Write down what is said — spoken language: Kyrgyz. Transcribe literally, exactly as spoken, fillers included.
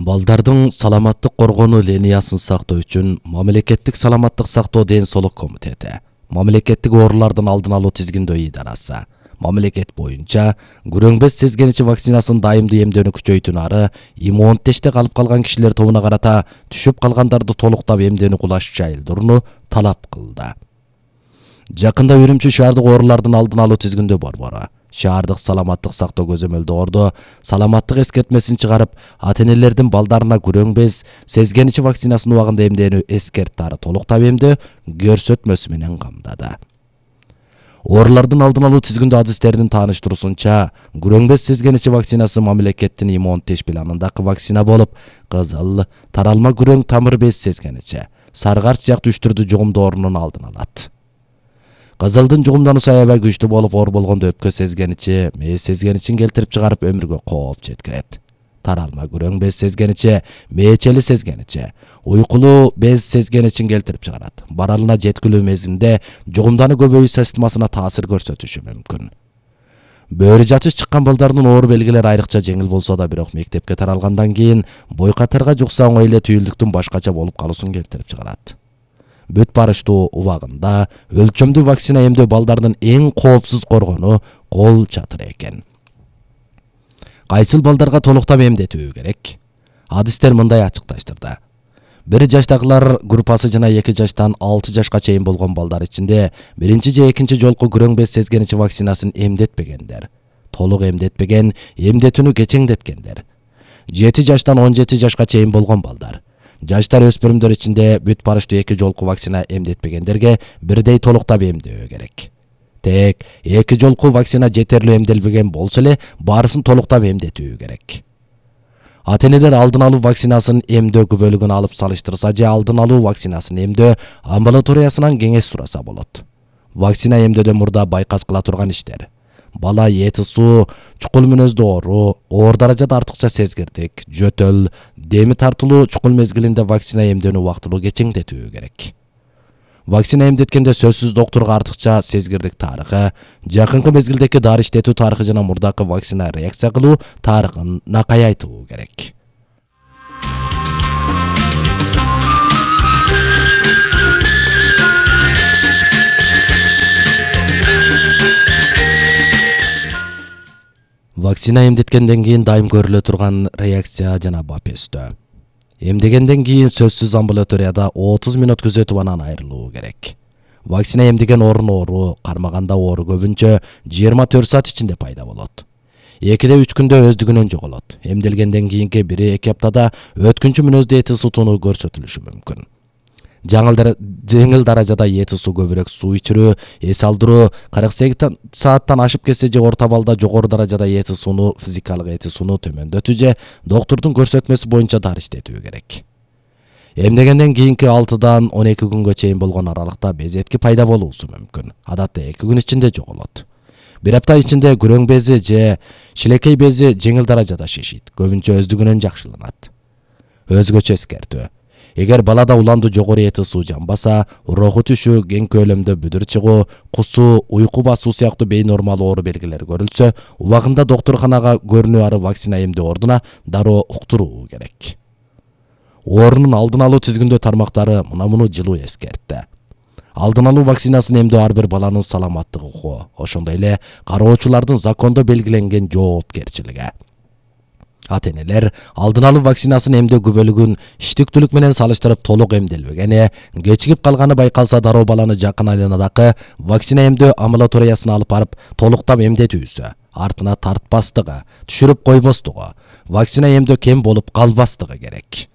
Балдардын саламаттык коргонуу линиясын сактоо үчүн Мамлекеттик саламаттык сактоо ден соолук комитети, Мамлекеттик оорулардын алдын алуу тизгиндөө идарасы, мамлекет боюнча күрөң-без сезгеничи вакцинасын дайымдуу эмдөөнү күчөйтүүнү ары иммунитетте калып калган кишилер тобуна карата түшүп калгандарды толуктап эмдөөнү кулаш жайылдырууну талап кылды. Жакында Үрүмчү шаардык оорулардын алдын алуу тизгиндөө борбору шаардык саламаттык сактоо көзөмөлдөө саламаттык эскертмесин чыгарып, ата-энелердин балдарына күрөң-без сезгеничи вакцинасын убагында эмдөөнү эскертти ары толуктап эмдөө көрсөтмөсү менен камдады. Оорулардын алдын алуу тизгиндөө адистеринин тааныштыруусунча, күрөң-без сезгеничи вакцинасы мамлекеттин иммунитет планындагы вакцина болуп, кызыл, таралма күрөң тамыр без сезгеничи, сарыгарч сыяктуу үч түрдүү жугумдоорунун алдын алат. Кызылдын жугумдануусу аябай күчтүү болуп, оор болгондо өпкө сезгеничи, мээз сезгеничин келтирип чыгарып өмүргө кооп жеткирет. Таралма күрөң без сезгеничи, мээчели сезгеничи, уйкулуу без сезгеничин келтирип чыгарат. Баралына жеткилүү мезгилинде жугумдануу көбөйүү системасына таасир көрсөтүшү мүмкүн. Бөөрү жачыш чыккан балдардын оору белгилери айрыкча жеңил болсо да, бирок мектепке таралгандан кийин бойкатарга жукса оңой эле түйүлдүктүн башкача болуп калуусун келтирип чыгарат. Бүт барыштуу убагында өлчөмдүү вакцина эмдөө балдардын эң коопсуз коргонуу кол чатыры экен. Кайсыл балдарга толуктап эмдетүү керек? Адистер мындай ачыкташтырды. Бир жаштагылар группасы жана эки жаштан алты жашка чейин болгон балдар ичинде биринчи же экинчи жолку күрөң-без сезгеничи вакцинасын эмдетпегендер, толук эмдетпеген, эмдетүүнү кечеңдеткендер. жети жаштан он жети жашка чейин болгон балдар, жаштар өспүрүмдөр ичинде бүт барыштуу эки жолку вакцина эмдетпегендерге бирдей толуктап эмдөө керек. Тек эки жолку вакцина жетерлүү эмделбеген болсо эле баарысын толуктап эмдетүү керек. Ата-энелер алдын алуу вакцинасын эмдөө күбөлүгүн алып салыштырса же алдын алуу вакцинасын эмдөө амбулаториясынан кеңеш сураса болот. Вакцина эмдөөдөн мурда байкас кыла турган иштер: бала эти суу, чукул мүнөздүү оору, оор даражада артыкча сезгирдик, жөтөл, деми тартылуу чукул мезгилинде вакцина эмдөөнү убактылуу кечеңдетүү керек. Вакцина эмдеткенде сөзсүз доктурга артыкча сезгирдик тарыхы, жакынкы мезгилдеги дары иштетүү тарыхы жана мурдакы вакцина реакция кылуу тарыхын накай айтуу керек. Вакцина эмдеткенден кийин дайым көрүлө турган реакция жана бапестөө. Эмдегенден кийин сөзсүз амбулаторияда отуз мүнөт күзөтүп анан айрылуу керек. Вакцина эмдеген орун оору, кармаганда оору көбүнчө жыйырма төрт саат ичинде пайда болот. экиде үч күндө өздүгүнөн жоголот. Эмделгенден кийинки бир эки аптада өткүнчү мүнөздө эти сутууну көрсөтүлүшү мүмкүн. Жеңил даражада эти суу, көбүрөөк суу ичирүү, эс алдыруу, кырк сегиз сааттан ашып кетсе же орто балда жогору даражада эти сууну, физикалык эти сууну төмөндөтүү же доктурдун көрсөтмөсү боюнча дары иштетүү керек. Эмдегенден кийинки алтыдан он эки күнгө чейин болгон аралыкта безетки пайда болуусу мүмкүн. Адатта эки күн ичинде жоголот. Бир апта ичинде күрөң бези же шилекей бези жеңил даражада шишийт, көбүнчө өздүгүнөн жакшыланат. Өзгөчө эскертүү: эгер балада уландуу жогору эти суу жанбаса, уроху түшүү, кең көлөмдө бүдүр чыгуу, кусуу, уйку басуу сыяктуу бейнормал оору белгилери көрүлсө, убагында доктурканага көрүнүү ары вакцина эмдөө ордуна дароо уктуруу керек. Оорунун алдын алуу тизгиндөө тармактары мына муну жылуу эскертти. Алдын алуу вакцинасын эмдөө ар бир баланын саламаттык укугу, ошондой эле кароочулардын закондо белгиленген жоопкерчилиги. Ата-энелер алдын алуу вакцинасын эмдөө күбөлүгүн иштиктүүлүк менен салыштырып толук эмделбегени, кечигип калганы байкалса дароо баланы жакын айланадагы вакцина эмдөө амбулаториясына алып барып толуктап эмдетүүсү, артына тартпастыгы, түшүрүп койбостугу, вакцина эмдөө кем болуп калбастыгы керек.